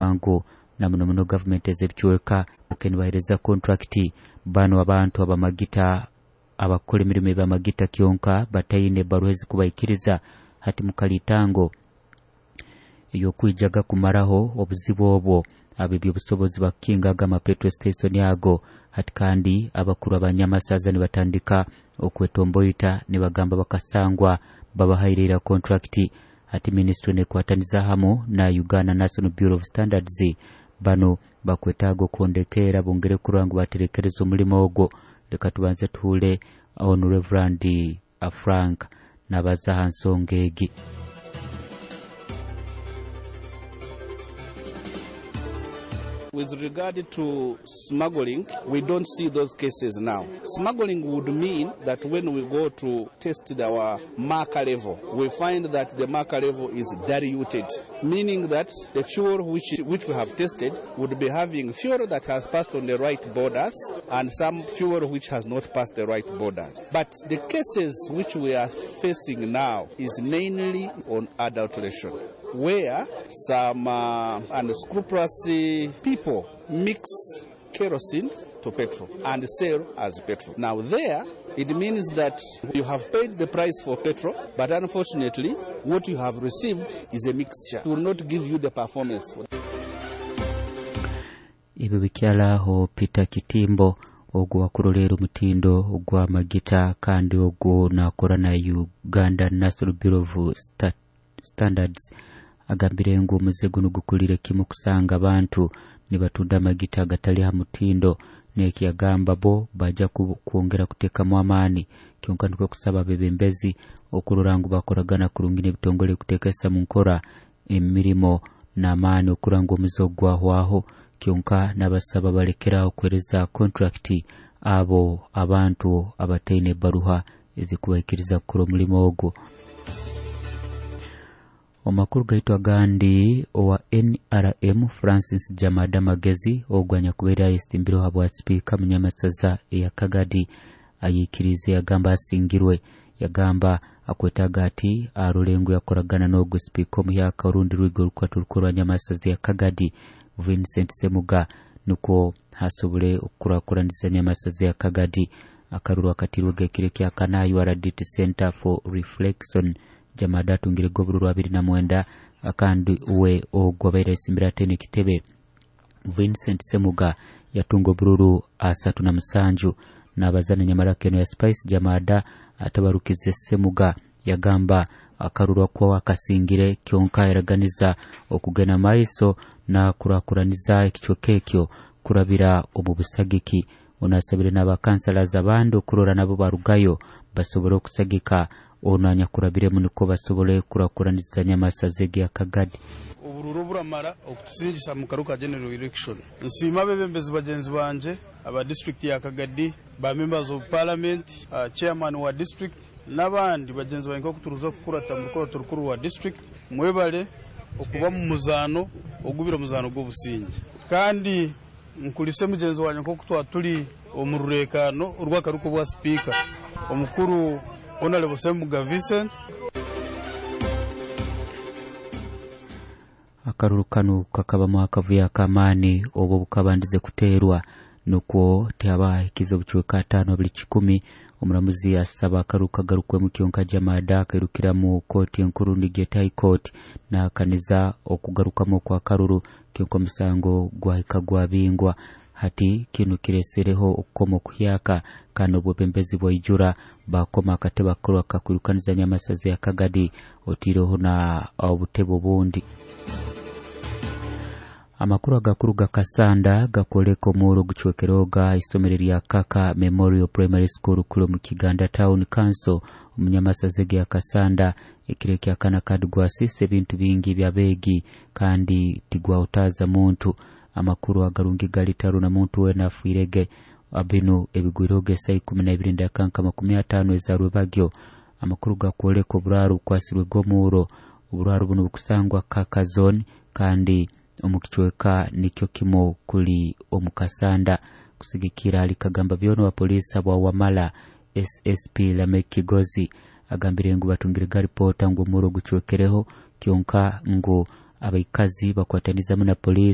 Ngu na muno muno gavumenti ez'ebicweka nibaheereza kontrakiti banu abantu abamagita abakukora emirimo ebyamagita kyonka bataine ebbaruha ezikubaikiriza. Hati mukalitango ey'okwijaga kumaraho obuzibu obwo, ab'ebyobusobozi bakukingaga ama petrol station ago. Hati kandi abakuru abanyamasaza nibatandika okwetomboita nibagamba bakasangwa babahaire ira kontrakiti. Hati minisitule nekwataniza hamu na Uganda National Bureau of Standards, banu bakwetaaga okuhondekeera bongere kurora ngu baterekereza omulimo ogwo. Leka tubanze tuhuule onu Reverand Frank nabaza ha nsonga egi. With regard to smuggling, we don't see those cases now. Smuggling would mean that when we go to test our marker level, we find that the marker level is diluted, meaning that the fuel which we have tested would be having fuel that has passed on the right borders and some fuel which has not passed the right borders. But the cases which we are facing now is mainly on adulteration, where some unscrupulous people mix kerosene to petrol and sell as petrol. Now there, it means that you have paid the price for petrol, but unfortunately, what you have received is a mixture. It will not give you the performance. Ebyo bikyalaho Peter Kitimbo ogwo wakuroleera omutindo ogw'amagita kandi ogwo nakora na Uganda National Bureau of Standards agambire ngu omuze guno gukulire kimu kusanga abantu nibatunda amagita agatali ha mutindo. Nekiyagamba bo baja kwongera kuteekamu amaani kyonka nikwo kusaba abebembezi okurora ngu bakoragana kurungi n'ebitongole kuteekesa mu nkora emirimo n'amaani okurora ngu omuze ogu gwahwaho. Kyonka n'abasaba balekeraho kuheereza kontrakiti abo abantu abataine ebbaruha ezikubaikiriza kukora omulimo ogwo. Omakuru gaitu agandi, owa NRM Francis Jamada Magezi ogwo anyakubaire ayesimbireho habwa sipiika munyamasaza eya Kagadi ayikirize yagamba asingirwe. Yagamba akwetaaga ati arole ngu yakoragana n'ogwo sipiika omuhyaka orundi rwigo orukwata orukuru rwa nyamasaza ya Kagadi Vincent Semuga nukwo hasobole okukurakuraniza nyamasaza ya Kagadi. Akaruru akatirwega ekiro kyakana URDT Center for Reflection. Jamada atungire obururu 29 kandi uwe ogwo abaire asimbire ataine ekitebe Vincent Semuga yatunga obururu 37. Nabazana nyamaraka eno ya Spice Jamada atabarukize Semuga yagamba akaruru akwo akasingire kyonka yaraganiza okugenda maiso na kurakuraniza ekicweka ekyo kurabira omu busagiki. Onasabire n'abakansalazi abandi okurora nabo barugayo basobole okusagika ono anyakurabiremu niko basobole kurakuraniza nyamasaza egi ya Kagadi. Obururu buramara okutusingisa mu karuka general election. Nsiima abebembezi bagenzi banje aba district ya Kagadi, ba members of parliament, chairman wa district n'abandi bagenzi bange okuturuza kukurata mu rukoto rukuru wa district. Mwebale okuba mu muzaano ogubira omuzaano gw'obusinge. Kandi nkulise mugenzi wange nk'oku twatuli omu rureekano orw'akaruka bwa speaker omukuru Honorable Semuga Vincent. Akaruru kanu kakabamu akavuyo ak'amaani obwo bukabandize kuteerwa nukwo tehabahikiza obucweka 5 buli 10. Omuramuzi asaba akaruru kagarukwemu kyonka Jamada akairukira mu kooti enkuru nigeta High Court n'ahakaniza okugarukamu okw'akaruru kyonka omusango gwahika gwabingwa. Hati kinu kiresereho okukoma okuhyaka kandi obwebembezi bwaijura bakoma akatebe akakorwa kakwirukaniza nyamasaza ya Kagadi otiireho na obutebe obundi. Amakuru agakuru gakasanda gakwoleka omuuro gucwekeroga isomero lya Kaka Memorial Primary School kuli omu Kiganda Town Council omunyamasaza ya Kasanda. Ekiro kyakana kadi gwasisa ebintu bingi by'abeegi kandi tigwahutaaza muntu. Amakuru agarungi gali taru na muntu wena afiirege abinu ebigwiroge saa 12:50 ezarwebagyo. Amakuru gakwoleka oburaro bukwasirwe g'omuuro. Oburaro buno bukusangwa Kaka Zone kandi omu kicweka nikyo kimu kuli omu Kasanda. Kusigikira ali kagamba byona wa polisi bwa Wamala SSP Lamek Kigozi agambire ngu batungire garipota ngu omuuro gucwekereho kyonka ngu abaikazi bakwatanizamu na polisi.